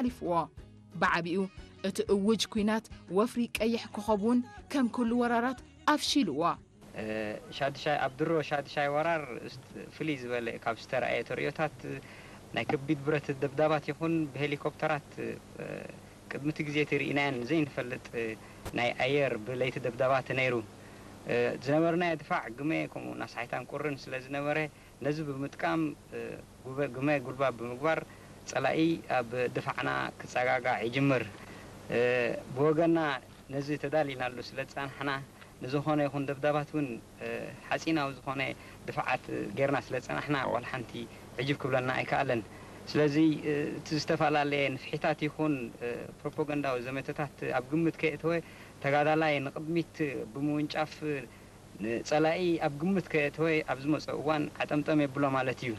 ሓሊፍዎ። ብዓቢኡ እቲ እውጅ ኲናት ወፍሪ ቀይሕ ኮኸብ እውን ከም ኩሉ ወራራት ኣፍሺልዎ። ሻድሻይ ኣብ ድሮ ሻድሻይ ወራር ፍልይ ዝበለ ካብ ዝተረኣየ ተርእዮታት ናይ ከቢድ ብረት ደብዳባት ይኹን ብሄሊኮፕተራት ቅድሚ እቲ ግዜ እቲ ርኢናየን ዘይንፈልጥ ናይ ኣየር ብለይቲ ደብዳባት ነይሩ። ዝነበርናዮ ድፋዕ ግመ ከምኡ ናሳሒታን ቁርን ስለ ዝነበረ ነዚ ብምጥቃም ግመ ጉልባብ ብምግባር ጸላኢ ኣብ ድፋዕና ክጸጋጋዕ ይጅምር። ብወገንና ነዚ ተዳሊናሉ ስለ ዝጸናሕና ንዝኾነ ይኹን ደብዳባት እውን ሓጺናዊ ዝኾነ ድፍዓት ጌርና ስለ ዝጸናሕና ዋላ ሓንቲ ዕጅብ ክብለና ኣይከኣለን። ስለዚ እቲ ዝተፈላለየ ንፍሒታት ይኹን ፕሮፓጋንዳዊ ዘመተታት ኣብ ግምት ከየእተወ ተጋዳላይ ንቕድሚት ብምውንጫፍ ንጸላኢ ኣብ ግምት ከየእተወ ኣብ ዝመጾ እዋን ዓጠምጠም የብሎ ማለት እዩ።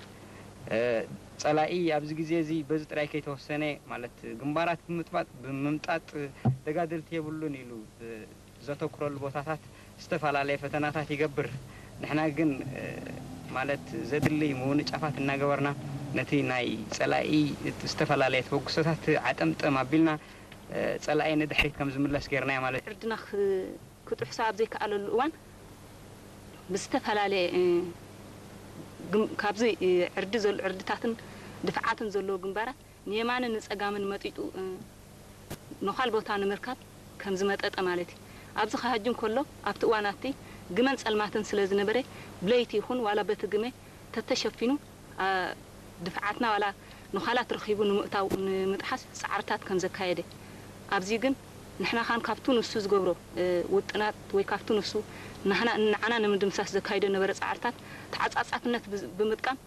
ጸላኢ ኣብዚ ግዜ እዚ በዚ ጥራይ ከይተወሰነ ማለት ግንባራት ብምጥባጥ ብምምጣጥ ተጋደልቲ የብሉን ኢሉ ዘተኩረሉ ቦታታት ዝተፈላለየ ፈተናታት ይገብር። ንሕና ግን ማለት ዘድሊ ምውንጫፋት እናገበርና ነቲ ናይ ጸላኢ ዝተፈላለየ ተበግሶታት ዓጠምጠም ኣቢልና ጸላኢ ንድሕሪት ከም ዝምለስ ጌርናዮ ማለት እዩ። ዕርድና ክጥሕሶ ኣብ ዘይከኣለሉ እዋን ብዝተፈላለየ ካብዚ ዕርዲ ዕርድታትን ድፍዓትን ዘለዎ ግንባራት ንየማንን ንጸጋምን መጢጡ ነዃል ቦታ ንምርካብ ከም ዝመጠጠ ማለት እዩ። ኣብዚ ክሃጅም ከሎ ኣብቲ እዋን ኣብቲ ግመን ጸልማትን ስለ ዝነበረ ብለይቲ ይኹን ዋላ በቲ ግመ ተተሸፊኑ ድፍዓትና ዋላ ንዃላት ረኺቡ ንምእታው ንምጥሓስ ጻዕርታት ከም ዘካየደ ኣብዚ ግን ንሕና ኻን ካብቱ ንሱ ዝገብሮ ውጥናት ወይ ካብቱ ንሱ ንዓና ንምድምሳስ ዘካይዶ ነበረ ጻዕርታት ተዓጻጻፍነት ብምጥቃም